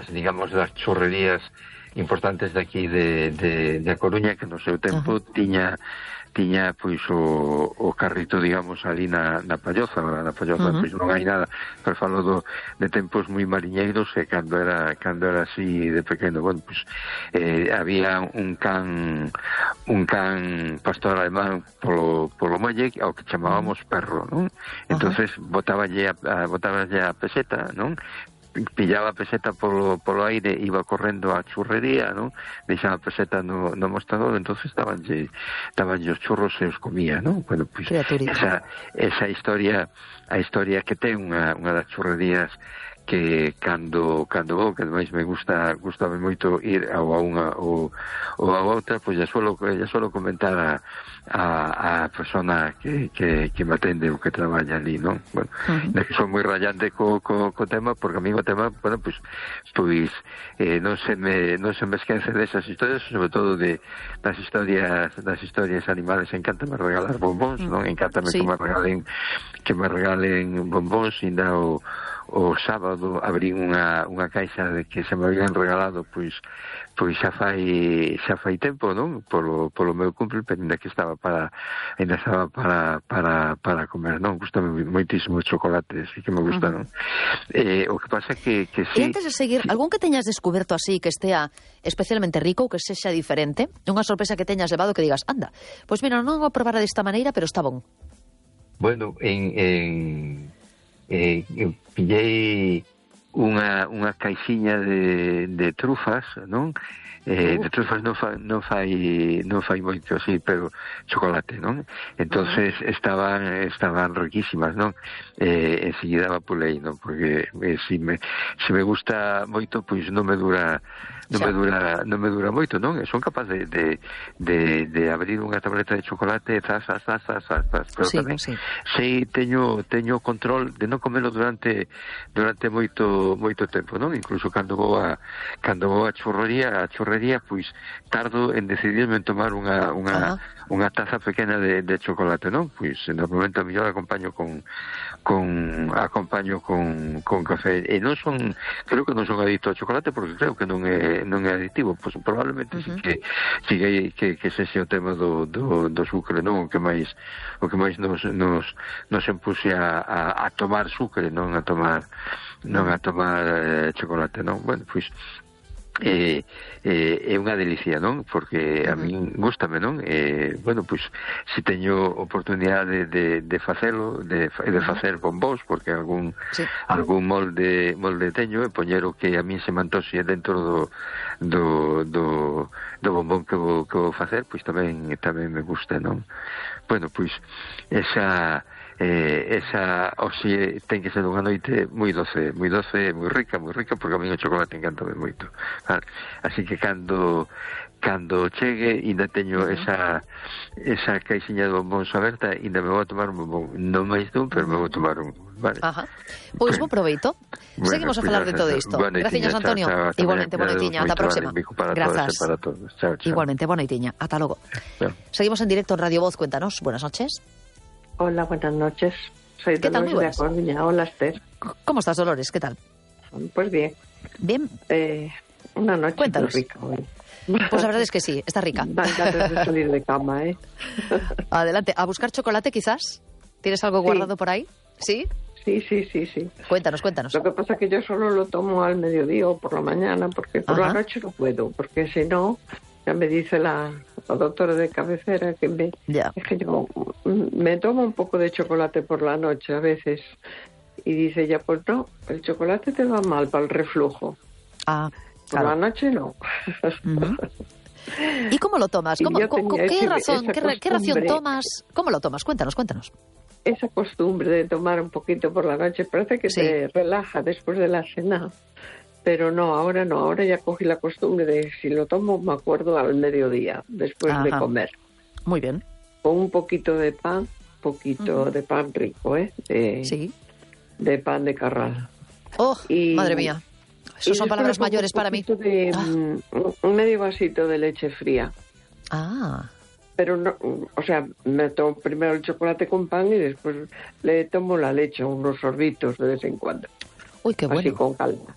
digamos, das churrerías importantes de aquí de A Coruña, que no seu tempo tiña pois o carrito, digamos, ali na Palloza. Agora na Palloza pois non hai nada, pero falo de tempos moi mariñeiros, e cando era así de pequeno, bueno, pois había un can pastor alemán polo muelle ao que chamábamos Perro, non? Entonces botáballe a peseta, non? Pillaba a peseta polo aire, iba correndo á churrería, non? Deixaba a peseta no mostrador, entonces dabanlle os churros e os comía, non? Bueno, pois esa historia, a historia que ten unha das churrerías, que cando vou, que ademais me gustame moito ir a unha ou a outra, pois ya suelo comentar a persona que me atende ou que traballa ali, non? Bueno, que son moi rayante co tema, porque a mí o tema, bueno, pois non se me esquece desas historias, sobre todo das historias animales. Encántame regalar bombóns, non? Encántame que me regalen bombóns. Ainda o sábado abrí unha caixa de que se me habían regalado pois xa fai tempo, non? Polo meu cumple, pero ainda estaba para comer, non? Gustame moitísimo o chocolate, así que me gusta, non? O que pasa que sí. E antes de seguir, algún que teñas descoberto así que estea especialmente rico ou que sexa diferente? Unha sorpresa que teñas levado que digas, anda, pois mira, non vou probar desta maneira, pero está bon. Bueno, pillei unha caixiña de trufas, non? De trufas non fai moito así, pero chocolate, non? Entonces estaban riquísimas, non? Enseguida vapulei, non? Porque se me gusta moito, pois non me dura moito, non? E son capaz de abrir unha tableta de chocolate, pero tamén sei, teño control de non comelo durante moito tempo, non? Incluso cando vou a churrería, pois tardo en decidirme en tomar unha taza pequena de chocolate, non? Pois normalmente a mellor acompaño con café, e creo que non son adicto ao chocolate, porque creo que non é adictivo. Pois probablemente sí que sexa o tema do sucre, non? O que máis nos empuse a tomar sucre, non a tomar chocolate, non? Bueno, pois é unha delicia, non? Porque a min gústame, non? Bueno, pois se teño oportunidade de facelo, de facer bombós, porque algún molde teño, e poñer o que a min se me antoxe dentro do bombón que vou facer, pois tamén me gusta, non? Bueno, pois esa oxe ten que ser unha noite moi doce, moi rica, porque a mí o chocolate encantame moito. Así que cando chegue, ainda teño esa caixiña de bombóns aberta, ainda me vou a tomar un bombón, non máis dun, pero me vou a tomar un, vale? Pois bo proveito. Seguimos a falar de todo isto. Graciñas, Antonio. Igualmente, boa noitiña, ata a próxima. Grazas. Igualmente, boa noitiña, ata logo. Seguimos en directo en Radio Voz. Cuéntanos, buenas noches. Hola, buenas noches. Soy Dolores de A Coruña. Hola, Esther. ¿Cómo estás, Dolores? ¿Qué tal? Pues bien. Bien. Una noche Cuéntanos. muy rica hoy. Pues la verdad es que sí, está rica. Dan ganas de salir de cama, ¿eh? Adelante. ¿A buscar chocolate, quizás? ¿Tienes algo guardado por ahí? ¿Sí? Sí. Cuéntanos. Lo que pasa es que yo solo lo tomo al mediodía o por la mañana, porque por la noche no puedo, porque si no, ya me dice la doctora de cabecera que es que yo me tomo un poco de chocolate por la noche a veces, y dice ella, pues no, el chocolate te va mal para el reflujo. Por la noche no. ¿Y cómo lo tomas? ¿Qué ración tomas? ¿Cómo lo tomas? Cuéntanos. Esa costumbre de tomar un poquito por la noche parece que te relaja después de la cena. Pero no, ahora ya cogí la costumbre de si lo tomo me acuerdo al mediodía, después de comer. Muy bien. Con un poquito de pan, de pan rico, de pan de Carral. ¡Oh, madre mía! Esas son palabras mayores para mí. Un medio vasito de leche fría. Pero no, o sea, me tomo primero el chocolate con pan y después le tomo la leche, unos sorbitos de vez en cuando. Uy, qué bueno. Así con calma.